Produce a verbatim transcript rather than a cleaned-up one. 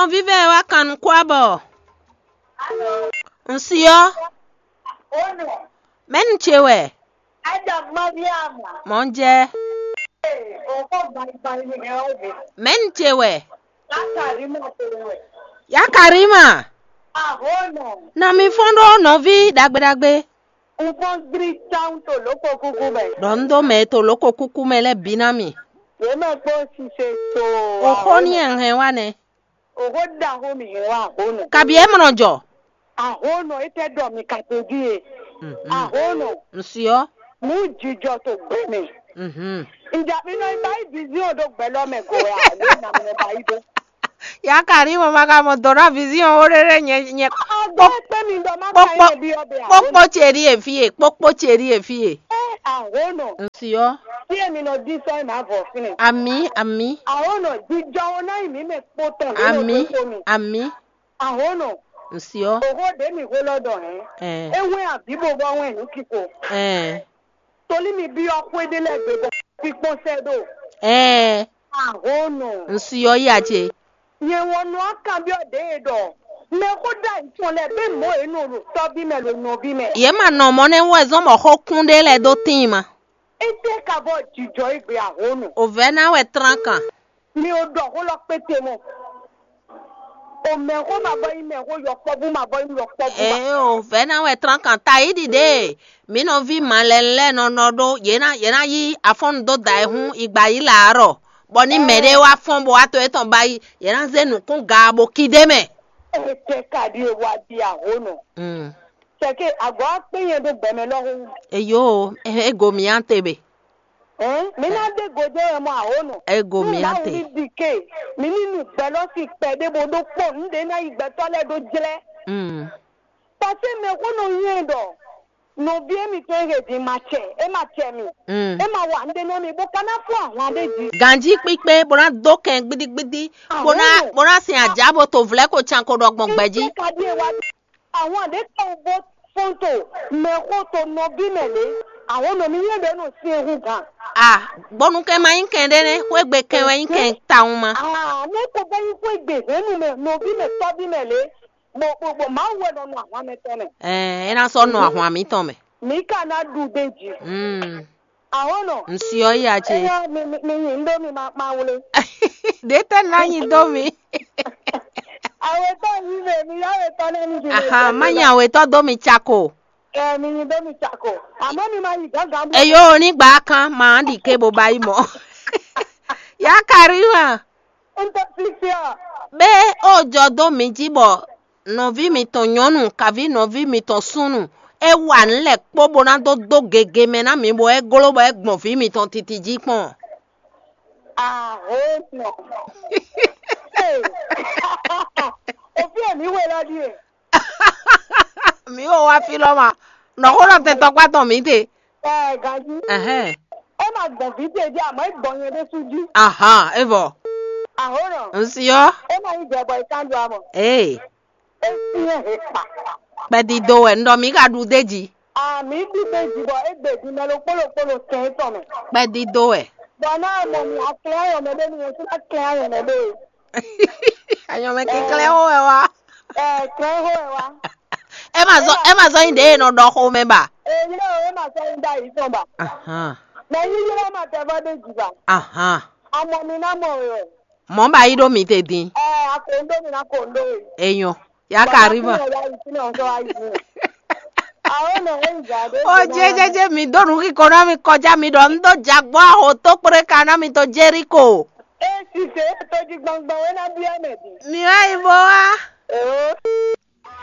Nɔví vɛ́ wá kan nukún abɔ. Un si ɔ́, mɛ̌nu ce wɛ? Mɔ̌ jɛ. Mɛ̌nu ce wɛ? Yá Karima, na mi fɔ́n ɖó nɔví ɖagbe ɖagbe. Un fɔ́n gblí tawun to lǒ ko kúkú mɛ. Ɖɔ un dó mɛ e to lǒ ko kúkú mɛ lɛ́ɛ bǐ ná mi. Yě mɛ kpó sise to. O xó ní ɛ hɛn wá nɛ́. O xó ɖaxó mi hɛn wá ahónɔ. Kabi é mlɔ jɔ. Ahónɔ é tɛ ɖɔ mi ka te ví e. Ahónɔ. Un si ɔ́. Mú jijɔ to gbɛ mɛ. Nja mi nɔ ba yi vision ɖo gbɛ lɔ mɛ go ya. Ló na mi nɔ ba yi ɖó. Ya ka ní mo ma ka mɔ dɔ̌n ná vision ó ɖé ɖé nyɛ nyɛ. Agbo kpé mi ɖɔ má ka yɛ bi ɔbɛ ahónɔ. Kpókpó ce ɖíe fí e, kpókpó ce ɖíe fí e. Ɛ ahónɔ. Un si ɔ́. Tí èmi nɔ dín sɔ́ ẹ̀ má vɔ fínɛ. Àmì, àmì. Ahónɔ jijɔ wo ná yi mí mɛ kpó tɔn. Àmì, àmì. Ahónɔ. Un si ɔ́. Òhó ɖě mi hó lɔ dɔ hɛn. Ɛ. É wɛn àbí bo bɔ wɛn nǔ kíko. Ɛ. Tolí mi byɔ́ xwé ɖé lɛ́ɛ gbe bɔ kpíkpɔ́n sɛ́ ɖo. Ɛ. Ahónɔ. Un si ɔ́ yí a ce. Nyɛ wɔn nɔ akanbyɔ́ ɖě e ɖɔ mɛ xó ɖ'ayǐ tɔn lɛ́ɛ bɛ mɔ̌ e nɔ ɖo tɔ́ví mɛ ɖo nɔví mɛ. Yě ma nɔ mɔ̌ nɛ́ wɛ zɔ́n bɔ xó kún ɖé lɛ́ɛ dó tíin ma. Étɛ́ ka vɔ jǐjɔ égbé ahónɔ? O vɛ̌ ná wɛ tlán kan. Mi ò ɖɔ xó lɔ kpéte mɔ. O mɛxó ma bɔ nyí mɛxó, yɔkpɔ́vú ma bɔ nyí yɔkpɔ́vú ma. Ee o vɛ̌ ná wɛ tlán kan ta yí ɖiɖe. Mǐ nɔví malɛnu lɛ́ɛ nɔ nɔ ɖó yě ná yě ná yí afɔ́nnu dó da ɛ hún igba yí lǎ ɖɔ, bɔ ní mɛɖé wá fɔ́n bó wá to étɔn ba yi, yě ná zé nǔkún gaa bó kí ɖ'é mɛ. Étɛ́ ka ɖíe wá ɖi ahónɔ? Mm. Cɛ̌ ke agɔ̌ akpé nyɛ ɖó gbɛmɛ lɔhún. Eyo, e go mǐ ante be. Hɛn, mi ná ɖe gojɛ wɛ mɔ ahónɔ. Ego mi ate. Ní ɖi ke, mi ní nu gbɛlɔsi kpɛɖé bó ɖó kpɔn nǔɖé ná yi gbɛtɔ́ lɛ́ɛ ɖó jlɛ́. Mm. Pase mɛ xó nɔ nyɛ ɖɔ nɔví émítɔn e he din ma cɛ, é ma cɛ mi. Mm. É ma wa nǔɖé nú mi bó ka ná fún ahwan ɖé jí. Ganjí kpíkpé bó ná dó kɛn gbídígbídí, bó ná Ahónɔ. Bó ná sin ajǎ bó to vlɛ̌ ko can ko ɖɔ gbɔn gbɛ jí. Kpíkpé ka ɖíe wá. Àwọn àdéhùn bó fóńtò mɛxó to nɔví mɛ lě, àwọn nɔ mi nyɛ ɖě nɔ sin ehu gǎn. A gbɔnukɛn ma nyí kɛn ɖé nɛ́, xwé gbe kɛn wɛ nyí kɛn tawun ma. Aa, ne ko bɛ nyí xwé gbe hɛn nu mɛ nɔví mɛ tɔ́ví mɛ lě, bɔ bɔ bɔ Mawu wɛ nɔ nu ahwan mɛ tɔn mɛ. Ɛɛ, é ná sɔ́ nɔ ahwan mǐtɔn mɛ. Mǐ ka ná ɖu ɖe jí. Mm. Ahónɔ. Ŋsi ɔ́ yi a ce. Eyɔ mi mi mi nyi ŋɖó mi ma ma wlé. Ɖě tɛ́ ná nyi dó mi. Awetɔ yi mɛ mi yá awetɔ lɛ mi. Aha, má nyi awetɔ dó mi cako. Ɛ mi nyi dó mi cako. Àmọ́ mi ma yi gángan bú. Eyo ní gbà kan máa ɖi ké bó ba yi mɔ. Yá Karima. N tɛ flixia. Bé ó jɔ dó mi jí bɔ nɔví mitɔn nyɔ̌nu kaví nɔví mitɔn súnnu é wa nǔ lɛ́ɛ kpó bó ná dó dó gege mɛ ná mi bɔ é gló bɔ é gbɔn vǐ mitɔn titi jí kpɔ́n. Ahónɔ. Òfin èmi wé lɔ ɖíe. Mǐ wo wá fí lɔ ma. Nɔxó nɔ tɛn tɔkpá tɔn mǐ te. Ɛ ganji. Ɛhɛn. É ma gbɔn vǐ ce jí àmọ́ é gbɔn nyɛ ɖésú jí. Ahan, é vɔ. Ahónɔ. Ŋsi ɔ́. É ma nyí jɛ bɔ é kan ɖu amɔ. Ee. É syɛ́n he kpa. Kpɛdídó wɛ un ɖɔ mǐ ka ɖu d'é jí. Àmì ɖígbé jí bɔ é gbe din mɛ ɖokpó ɖokpó ɖo kɛn tɔn mɛ. Kpɛdídó wɛ. Bɔ ná mɔ mi aklɛ ayɔmɛ ɖé mi yẹn sí ná klɛ ayɔmɛ ɖé. Ayɔmɛ kɛnklɛ́n xó wɛ wá. Ɛ klɛ xó wɛ wá. É ma zɔ é ma zɔ nyi ɖě e nɔ ɖɔ xomɛ ba. Èyí lé o é ma sɔ nyi ɖ'ayǐ tɔn ba. Ahan. Mɛ yíyí lé ma tɛ vɔ ɖé jì ba. Ahan. Amɔ mi ná mɔ wɛ. Mɔ̌ ba yí ɖó mi te din. Ɛ akondo mi ná kondo wɛ. Enyɔ. Ya ka rí ma. Baba fún ọ̀la yìí sínú ọ̀sán wa yìí. Àwọn ọ̀nà ẹ̀ ń jà dé. O jẹjẹjẹ mi donu kíkọ náà mi kọjá mi ɖɔ ń dó jagbɔ aho tó kpéré ka ná mi tó Jericho. Esi se to di gbangban wɛ na bia mɛ di. Mi wá yi bó wá. Eo.